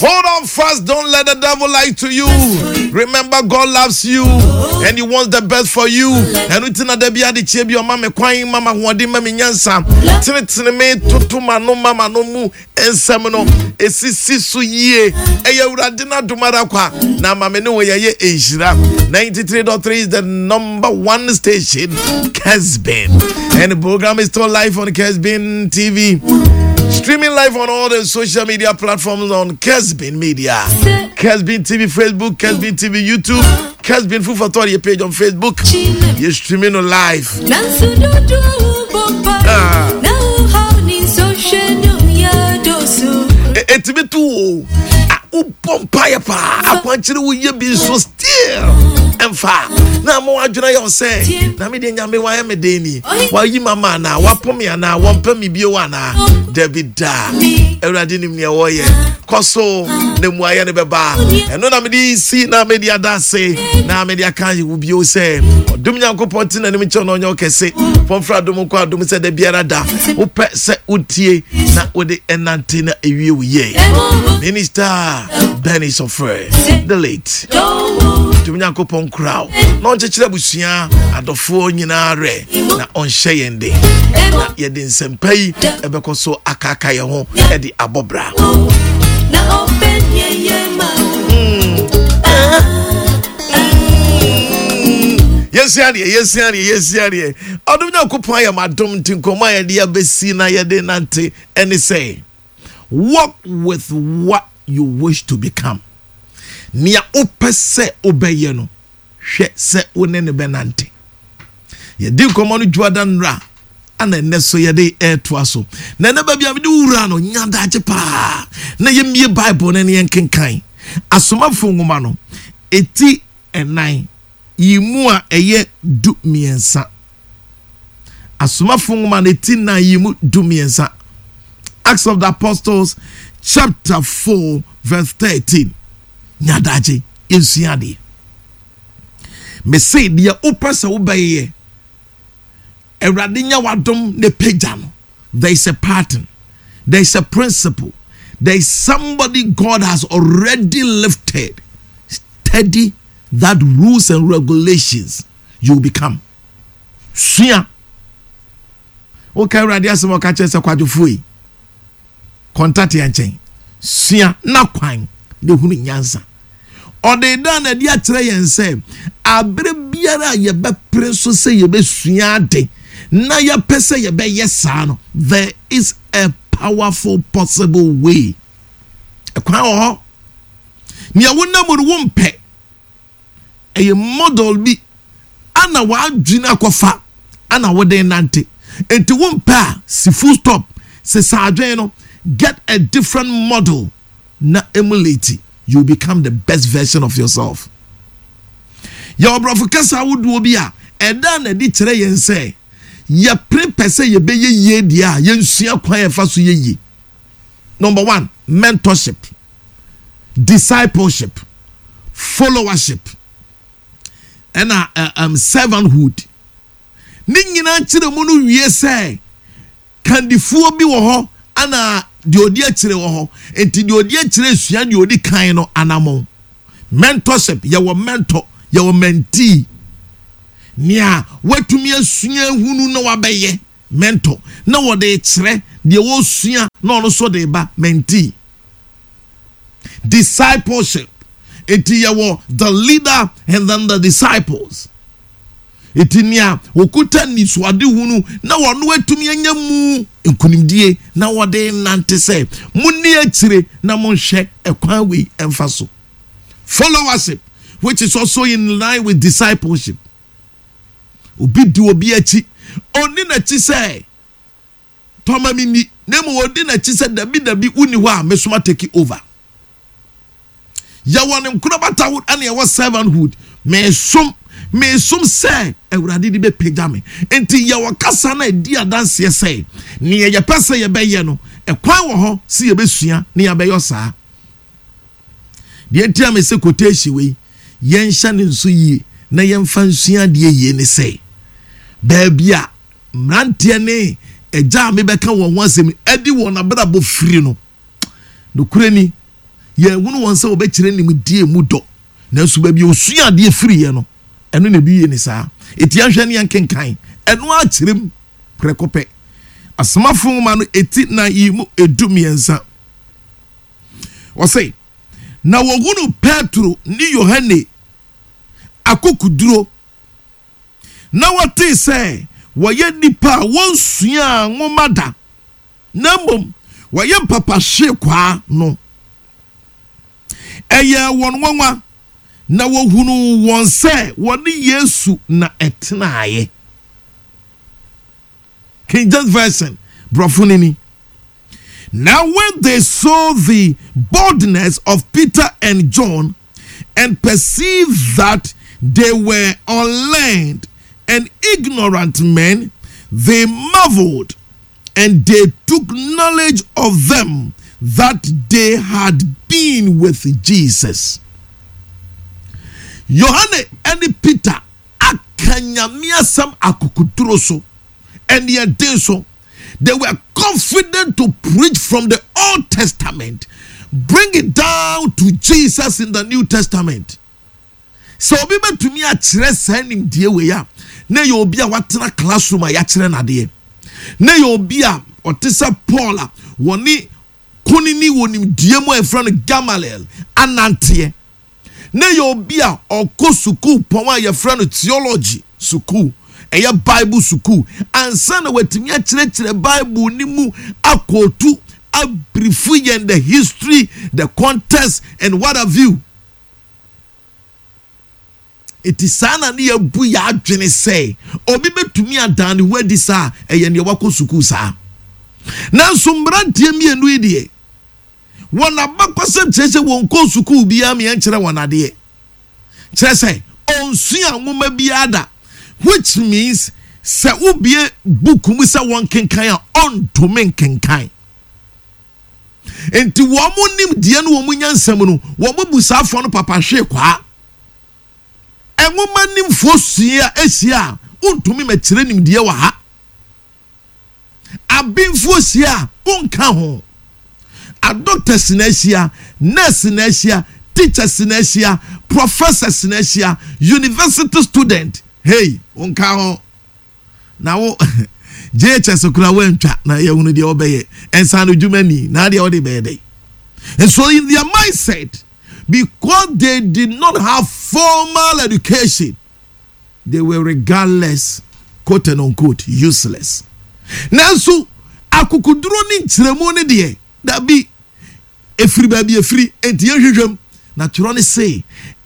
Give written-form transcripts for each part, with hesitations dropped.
Hold on fast. Don't let the devil lie to you. Remember, God loves you and He wants the best for you. Ɛno nti na da bi ade kyɛ bi ɔma me kwan ma ma ahoɔden ma me nyansa. Tenetene me toto ma no ma ma no mu nsɛm no esisi so yie. Ɛyɛ Awurade n'adom ara kwa na ama me ne wɔ yɛyɛ nhyira. 93.3 is the number one station, Kesbin. And the program is still live on Kesbin TV. Streaming live on all the social media platforms on Kesbin Media. Kesbin TV Facebook, Kesbin TV YouTube, Kesbin Food for Thought, your page on Facebook. You're streaming live. Ah. Ɛtumi to o wobɔ mpaeɛ paa akwankyerɛ woyɛ bi nso still ɛmfa na ama wadwena yɛ wo sɛ na medeɛ nyame wayɛ me den ni wayi ma ma anaa wapo me anaa wɔmpɛ me bio anaa dabi da awurade nim neɛ wɔyɛ kɔ so na mmuayɛ no bɛba ɛno na mede si na mede ada ase na mede aka wo bio sɛ ɔdom nyankopɔn te n'anim kyɛw na ɔnyɛ ɔkɛse fɔmfra adom nkɔ adom sɛ da biara da wopɛ sɛ wotie na wode ɛnante na ɛwie wo yie minister Benny Sɔfrɛ the late tumi nyankopɔn nkura wo na ɔnkyekyerɛ abusua adɔfoɔ nyinaa werɛ na ɔnhyɛ yɛn den na yɛde nsɛmpa yi ɛbɛkɔ so akaaka yɛn ho ɛde abɔ bra yɛsua deɛ yɛsua deɛ yɛsua deɛ ɔdom nyankopɔn ayɛ madom nti nkɔmmɔ a yɛde abɛsi na yɛde nante ɛne sɛ Work with what you wish to become. Nea wopɛ sɛ wobɛyɛ no, hwɛ sɛ wo ne no bɛnante. Yɛdi nkɔmmɔ no dwuada nnora, ana ɛnnɛ so yɛde ɛretoa so. Na ɛnɛ baabi a mede wo wura no, nya daakye paa na yɛmmie Bible no ne yɛnkenkan. Asomafo nwoma no, eti ɛnan, yi mu a ɛyɛ du mmiɛnsa. Asomafo nwoma no ti nnan yi mu dumiɛnsa. Acts of the Apostles chapter 4 verse 13. Nyadagye yɛnsua adeɛ. Mese deɛ wopɛ sɛ wobɛyɛ Awurade nya wadom ne pagya no. There is a pattern. There is a principle. There is somebody God has already lifted. Study that rules and regulations you will become. Sua. Woka Awurade asɛm a ɔka kyerɛ sɛ kwadwofoɔ yi, kɔntatea nkyɛn. Sua na kwan na ehunu nyansa. Ɔde da na adi akyerɛ yɛn sɛ abere biara a yɛbɛpere so sɛ yɛbɛsua ade na yɛpɛ sɛ yɛbɛyɛ saa no, there is a powerful possible way. Ɛkwan wɔ hɔ. Nea wonam mu no wompɛ. Ɛyɛ model bi ana w'adwene akɔfa ana wode nante. Enti wompɛ a, si full stop, sesa adwene no, get a different model na emulate, you become the best version of yourself. Yɛwɔ borɔfo kasa ahodoɔ bi a ɛda no adi kyerɛ yɛn sɛ yɛpere pɛ sɛ yɛbɛyɛ yie deɛ a yɛnsua kwan a yɛfa so yɛ yie. Number one, mentorship. discipleship, followership, ɛna uh, um, servanthood. Ne nyinaa kyerɛ mu no wie sɛ kandifoɔ bi wɔ hɔ ana deɛ ɔdi akyire wɔ hɔ. Nti deɛ ɔdi akyire sua deɛ ɔdi kan no anamɔn. Mentorship, yɛwɔ mentor, yɛwɔ mentee. Nea watumi asua ahunu na wabɛyɛ mentor na wɔde rekyerɛ deɛ wɔresua na ɔno nso de reba mentee. Discipleship. Enti yɛwɔ the leader and then the disciples. Enti nea wɔkuta nisuadehunu na wɔn atumi anya mu nkunimdie na wɔde nante sɛ monni akyire na monhwɛ ɛkwan wei ɛmfa so. Followership, which is also in line with discipleship. Obi di obi akyi. Onni n'akyi sɛ tɔ ma minni, na mmom odi n'akyi sɛ dabi dabi wonni hɔ a mesoma take over. Yɛwɔ ne nkorabatahood ɛna yɛwɔ servanthood. Mesom mesom sɛ Awurade de bɛpagya me. Nti yɛwɔ kasa no a ɛdi adanseɛ sɛ nea yɛpɛ sɛ yɛbɛyɛ no, ɛkwan wɔ hɔ sɛ yɛbɛsua na yɛabɛyɔ saa. Deɛ nti a mese quotation wei yɛnhyɛ no nso yie na yɛmfa nsua adeɛ yie ne sɛ baabi a mmeranteɛ ne agya a mebɛka wɔn ho asɛm adi wɔn abrabɔ firi no nokorɛ ni. Yɛnhunu wɔn sɛ wɔbɛkyerɛ nimdeɛ mu dɔ, nanso baabi a wɔsua adeɛ firiiɛ no, ɛno na ebi yɛ ne saa. Enti yɛnhwɛ ne yɛnkenkan ɛno ara kyerɛ mu prɛko pɛ. Asomafo nwoma no eti nan yi mu 13. Ɔse, na wɔhunu Petro ne Yohane akokoduro, na wɔtee sɛ wɔyɛ nnipa a wɔnsuaa nwoma da, na mmom wɔyɛ mpapahwekwaa no. Ɛyɛɛ wɔn nwanwa, na wɔhunuu wɔn sɛ wɔne Yesu na ɛtenaeɛ. King James Version, borɔfo no ni. Now when they saw the boldness of Peter and John and perceived that they were unlearned and ignorant men, they marveled and they took knowledge of them that they had been with Jesus. Yohane ne Peter aka Nyame asɛm akokoduro so ɛne ɛden so. They were confident to preach from the Old Testament, bring it down to Jesus in the New Testament. Sɛ obi bɛtumi akyerɛ saa nimdeɛ wei a, na ɛyɛ obi a watena classroom a yɛakyerɛ no adeɛ. Na ɛyɛ obi a ɔte sɛ Paul a wɔne kunini wɔ nimdeɛ mu a yɛfrɛ no Gamaliel ananteɛ. Na ɛyɛ obi a ɔkɔ sukuu pɔn a yɛfrɛ no theology sukuu, ɛyɛ Bible sukuu, ansa na watumi akyerɛkyerɛ Bible no mu akɔɔtu abrifu yɛn the history, the context and what have you. Enti saa na ne yɛabu yɛn adwene sɛ obi bɛtumi adan ne ho adi saa a, ɛyɛ nea wakɔ sukuu saa. Nanso mmeranteɛ mmienu yi deɛ, wɔn abakɔsɛm kyerɛ sɛ wɔnkɔɔ sukuu biara ma yɛnkyerɛ wɔn adeɛ. Kyerɛ sɛ, ɔnsua nwoma biara da, which means sɛ wobue book mu sɛ wɔnkenkan a, ɔntumi nkenkan. Enti wɔn nimdeɛ ne wɔn nyansa mu no, wɔbu saa afɔ no papahwee kwaa. Nwoma nimfoɔ sua ahyia a, wontumi mɛkyerɛ nimdeɛ wɔ ha. Abenfoɔ hyia a, wonka ho. Adoctors na ahyia, nurse na ahyia, teachers na ahyia, professors na ahyia, university student, hey, wonka ho. Na wo JHS koraa woantwa na yɛhunu deɛ wɔbɛyɛ. Nsaano dwuma ni na adeɛ wode bɛyɛ dɛn? And so in their mindset, because they did not have formal education, they were regardless, quote and unquote, useless. Nanso akokoduro ne nkyerɛmu ne deɛ, dabi, Ɛfiri baabi ɛfiri, enti yɛnhwehwɛ mu. Na twerɛ no se,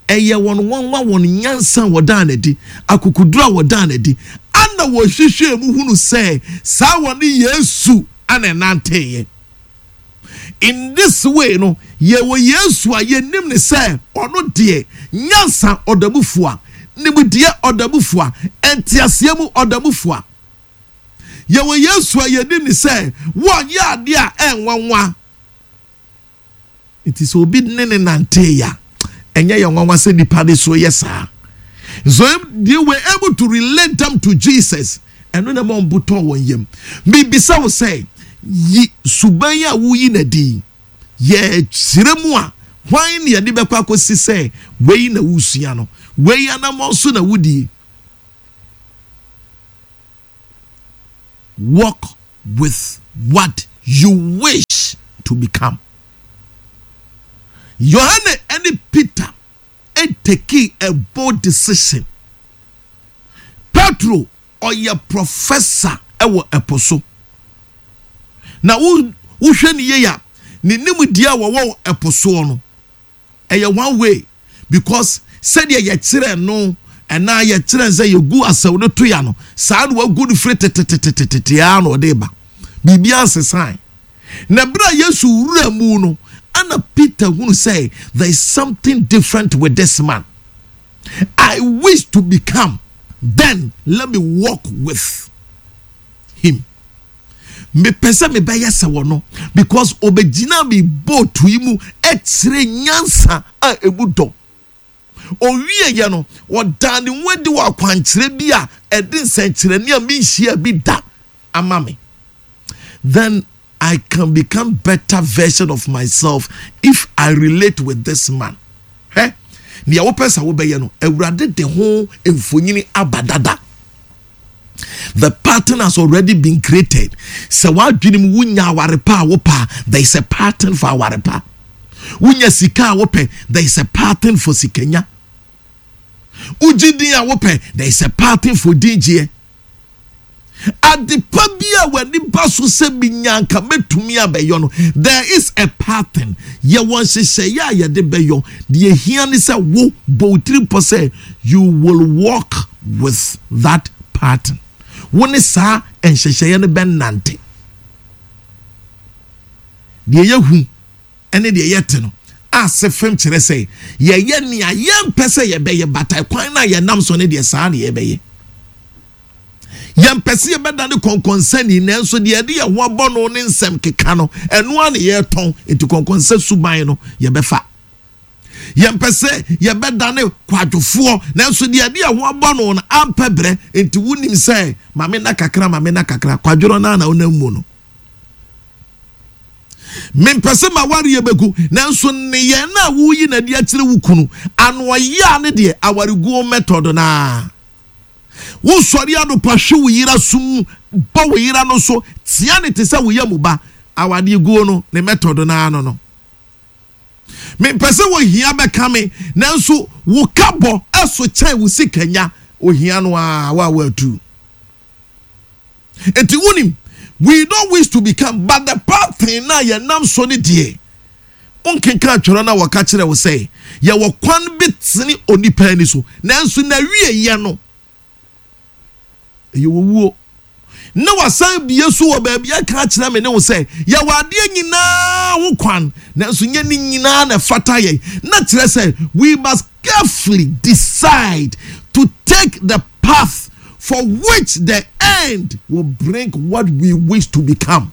Ɛyɛ wɔn nwanwa wɔn nyansa a wɔdaa no adi, akokoduro a wɔdaa no adi, ana wɔhwehwɛɛ mu hunu sɛ saa wɔne Yesu ana ɛnanteeɛ. In this way no, yɛwɔ Yesu a yɛnim no sɛ ɔno deɛ, nyansa ɔda mu fua, nimdeɛ ɔda mu fua, nteaseɛ mu ɔda mu fua. Yɛwɔ Yesu a yɛnim no sɛ wɔnyɛ adeɛ a ɛnwanwa. Nti sɛ obi ne ne nantee a, ɛnyɛ yɛn nwanwa sɛ nipa de so yɛ saa. So they were able to relate them to Jesus. Ɛno na ɛma wɔn bo tɔɔ wɔn yam. Mibisa wo sɛ, yi suban a woyi no adi yi, yɛkyerɛ mu a, hwan na yɛde bɛkɔ akɔsi sɛ wei na wosua no, wei anammɔn so na wodie? Walk with what you wish to become. Yohane ne Peter takii a bold decision. Petro ɔyɛ professor wɔ ɛpo so. Na wohwɛ ne yie a, ne nimdeɛ a wɔwɔ wɔ ɛpo soɔ no, ɛyɛ one way because sɛdeɛ yɛkyerɛ no ɛnaa yɛkyerɛ sɛ yɛgu asɛw no to ya no saa na wagu no firi tetetetetete ara na ɔde ba biribiara nsesan na berɛ a Yesu wura mu no ana Peter hunu sɛ there is something different with this man. I wish to become, then let me walk with him. Mepɛ sɛ mebɛyɛ sɛ wɔno because ɔbɛgyina me boat yi mu kyerɛ nyansa a ɛmu dɔ. Ɔwieɛ no, ɔdaa ne ho adi wɔ akwankyerɛ bi a ɛde nsɛnkyerɛnne a menhyiaa bi da ama me. Then I can become better version of myself if I relate with this man. Hwɛ, nea wopɛ sɛ wobɛyɛ no, Awurade de ho mfonyini aba dada. The pattern has already been created. Sɛ w'adwene mu wonya aware pa a wopɛ a, there is a pattern for aware pa. Wonya sika a wopɛ, there is a pattern for sikanya. Wogye din a wopɛ, there is a pattern for din gyeɛ. Adepa bi a w'ani ba so sɛ minya anka mɛtumi abɛyɔ no, there is a pattern. Yɛwɔ nhyehyɛeɛ a yɛde bɛyɔ. Deɛ ehia ne sɛ wo bɔ wo tiri pɔ sɛ you will walk with that pattern. Wo ne saa nhyehyɛeɛ no bɛnante. Deɛ yɛhu ne deɛ yɛte no ase fam kyerɛ sɛ yɛyɛ nea yɛmpɛ sɛ yɛbɛyɛ bata kwan no a yɛnam so no deɛ saa na yɛbɛyɛ. Yɛmpɛ sɛ yɛbɛdane kɔnkɔnsani, nanso deɛ yɛde yɛn ho abɔ no ne nsɛm keka no, ɛno ara na yɛretɔn, enti kɔnkɔnsa suban no yɛbɛfa. Yɛmpɛ sɛ yɛbɛdane kwadwofoɔ, nanso deɛ yɛde yɛn ho abɔ no no ampɛ berɛ, enti wonim sɛ ma me nna kakra, ma me nna kakra, kwadworɔ no ara na wonam mu no. Mempɛ sɛ m'awareɛ bɛgu, nanso nneyɛɛ no a woreyi no adi akyerɛ wo kunu, ano ɔyea ne deɛ, awareguo method no ara. Wosɔre anɔpa hwe wo yere aso mu, bɔ wo yere ano so, tea no te sɛ wo yam ba. Awadeɛ guo no, ne method no ara no no. Mempɛ sɛ ohia bɛka me, nanso wo ka bɔ so kyɛn wo sika nya. Ohia no ara, wo a woatu. Enti wonim, we don't wish to become, but the path no a yɛnam so no deɛ, wonkenkan twerɛ no a wɔka kyerɛ wo sɛ yɛwɔ kwan bi tene onipa ani so, nanso n'awieeɛ no, ɛyɛ owuo. Na wasan bie so wɔ baabi aka akyerɛ me ne wo sɛ yɛwɔ adeɛ nyinaa ho kwan, nanso nyɛ ne nyinaa na ɛfata yɛn. Na kyerɛ sɛ we must carefully decide to take the path for which the end will bring what we wish to become.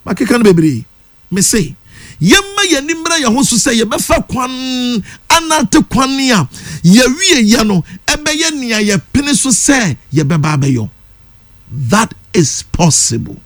Makeka no bebree. Mese, yɛmma yɛn ani mmra yɛn ho so sɛ yɛbɛfa kwan anante kwan a yɛawieɛ no ɛbɛyɛ nea yɛpene so sɛ yɛbɛba abɛyɔ. That is possible.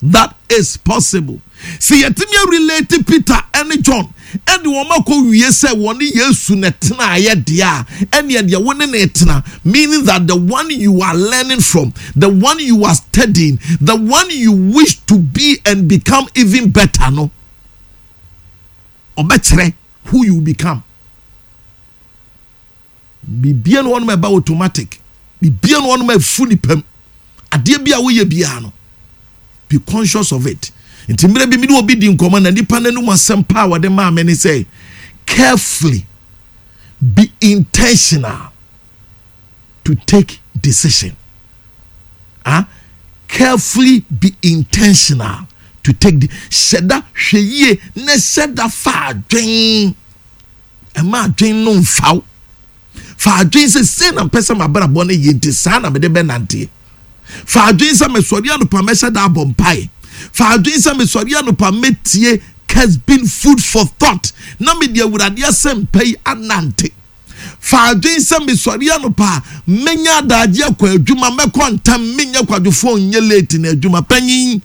That is possible. Sɛ yɛtumi arelate Peter ne John ɛde wɔn akɔ wie sɛ wɔne Yesu na ɛtenaeɛ deɛ a, ɛneɛ deɛ wo ne no tena, meaning that the one you are learning from, the one you are studying, the one you wish to be and become even better no, ɔbɛkyerɛ who you become. Biribiara ni hɔnom a ɛba automatic. Biribiara ni hɔnom a ɛfu nipa mu. Adeɛ bi a woyɛ biara no, be conscious of it. Nti mmerɛ bi me ne obi di nkɔmmɔ na nipa no anum asɛm pa a wɔde maa me ne sɛ, carefully be intentional to take decision. Ah, carefully be intentional to take the hyɛ da hwɛ yie na hyɛ da fa adwen. Mma adwene no mfa wo. Fa adwene sɛ sei na mpɛ sɛ m'abrabɔ no yɛ nti saa na mede bɛnanteɛ. Fa adwene sɛ mesɔre anɔpa mɛhyɛ da abɔ mpae. Fa adwene sɛ mesɔre anɔpa mɛtie Kesbin Food for Thought na mede Awurade asɛmpa yi anante. Fa adwene sɛ mesɔre anɔpa a mɛnya adagye akɔ adwuma, mɛkɔ ntɛm, menyɛ kwadwofoɔ nyɛ late na adwuma panyin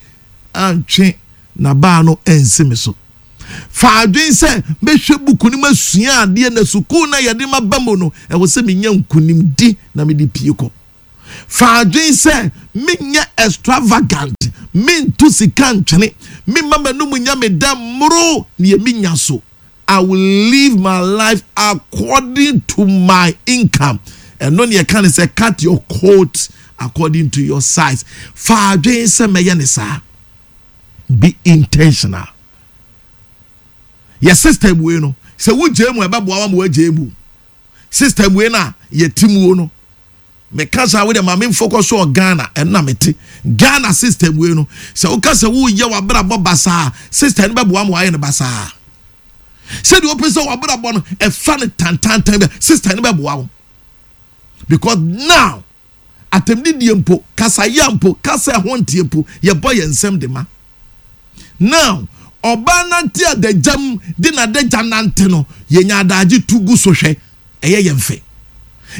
antwe n'abaa no ansi me so. Fa adwene sɛ mɛhwɛ buku no mu asua adeɛ na sukuu no a yɛde ma ba mu no, ɛwɔ sɛ menya nkonimdi na mede pie kɔ. Fa adwene sɛ menyɛ extravagant, mento sika ntwene, memma m'anum nyɛ me dɛ mmoro deɛ menya so. I will live my life according to my income. Ɛno ne yɛka ne sɛ cut your coat according to your size. Fa adwene sɛ mɛyɛ ne saa. Be intentional. Yɛ system wei no, sɛ wogyae mu a ɛbɛboa wa ma wagyae mu. System wei no a yɛte muo no, meka saa wei deɛ ma me focus on Ghana, ɛno na mete. Ghana system wei no, sɛ woka sɛ woyɛ w'abrabɔ basaa, system no bɛboa ma wayɛ no basaa. Sɛdeɛ wopɛ sɛ w'abrabɔ no ɛfa no tantantan bi, system no bɛboa wo. Because now, Atɛmdidie mpo, kasayea mpo, kasa a ɛho nteɛ mpo, yɛbɔ yɛn nsam de ma. Now, ɔbaa nante adagya mu de n'adagya nante no, yɛnya adagye tu gu so hwɛ, ɛyɛ yɛn fɛ.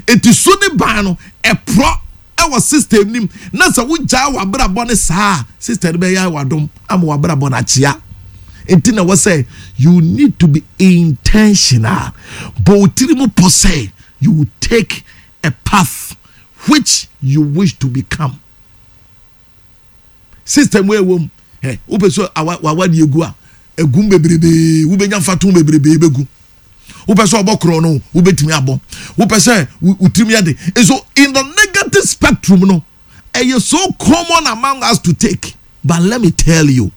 Enti su ne ban no, ɛporɔ. Ɛwɔ system nim na sɛ wogyaa w'abrabɔ ne saa, system no bɛyɛ w'adom ama w'abrabɔ no akyea. Nti na wɔ sɛ you need to be intentional. Bɔ wo tiri mu pɔ sɛ you will take a path which you wish to become. System wo ɛwɔ mu ɛ, wopɛ so awadeɛ gu a, egum bebrebee, wobɛnya mfato bebrebee bɛgu. Wopɛ sɛ ɔbɔ korɔ no, wobɛtumi abɔ. Wopɛ sɛ wo tirim yɛ de. So in the negative spectrum no, ɛyɛ so common among us to take. But let me tell you,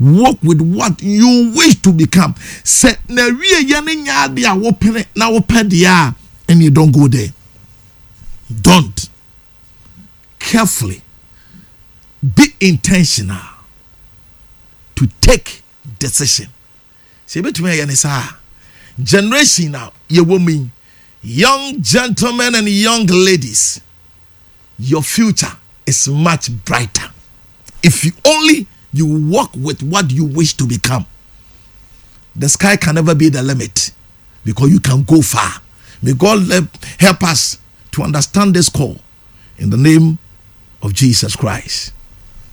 work with what you wish to become. Sɛ na wie yɛ ne nya ade a wopene na wopɛ deɛ a, ɛne don't go there. Don't. Carefully be intentional to take decision. Sɛ ebɛtumi ayɛ ne saa, generation a yɛwɔ mu yi, young gentlemen and young ladies, your future is much brighter if you only you work with what you wish to become. The sky can never be the limit because you can go far. May God help us to understand this call in the name of Jesus Christ.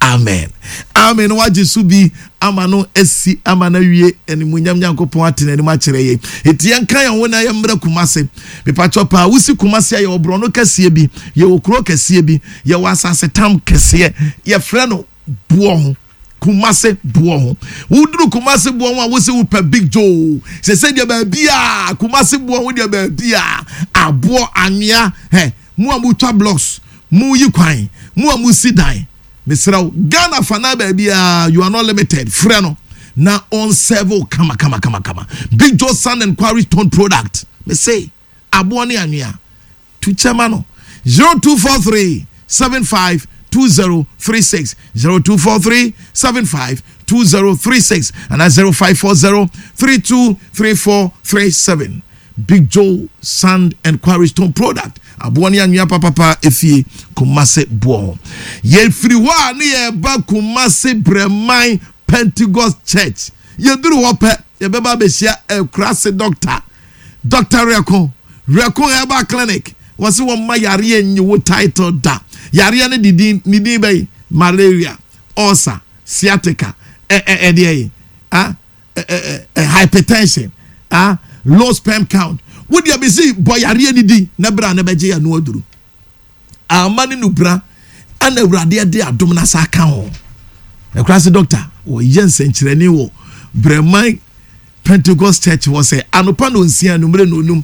Amen, amen. Wagye so bi ama no asi ama no awie. Animuonyam Nyankopɔn ate n'anim akyerɛ yɛn. Eti yɛnka yɛn ho na yɛmmrɛ Kumase. Mepatwɔ paa, wosi Kumase a, yɛwɔ borɔno kɛseɛ bi, yɛwɔ kuro kɛseɛ bi, yɛwɔ asase tam kɛseɛ, yɛfrɛ no Boɔ Ho. Kumase Boɔ Ho. Woduru Kumase Boɔ Ho a, wosi wopɛ Big Joe. Sɛ deɛ baabi a Kumase Boɔ Ho deɛ, baabi a aboɔ anwea hɛ, mo a motwa blocks, mo yi kwan, mo a mo si dan, mesrɛ wo, Ghana fana baabi a, you are not limited. Frɛ no na ɔnserve wo kama kama kama kama. Big Joe Sand and Quarry Stone Product, mese aboɔ ne anwea tu kyɛma no. 0243 75 2036, 0243 75 2036 and 0540 32 3437. Big Joe Sand and Quarry Stone Product, aboɔ ne anwea papapa, efie Kumase Boɔ Ho. Yɛfiri hɔ a, ne yɛba Kumase Brɛman Pentecost Church. Yɛduru hɔ pɛ, yɛbɛba abɛhyia Akurase doctor, Dr Rɛko, Rɛko Herbal Clinic. Wɔsi wɔn ma yareɛ nyi wo title da. Yareɛ no de din ne din bɛyi malaria, ulcer, sciatica, ɛ ɛ ɛdeɛ yi, ah, ɛ ɛ ɛ hypertension, ah, low sperm count. Wo deɛ bisi bɔ yareɛ ni di na bere a ne bɛgye yɛ no aduru ama ne nubra ɛna Awurade ɛde adom na sa aka ho. Ɛkura doctor wɔyɛ nsɛnkyerɛnne wɔ Brɛman Pentecost Church hɔ sɛ anɔpa no 6, anumere no 5.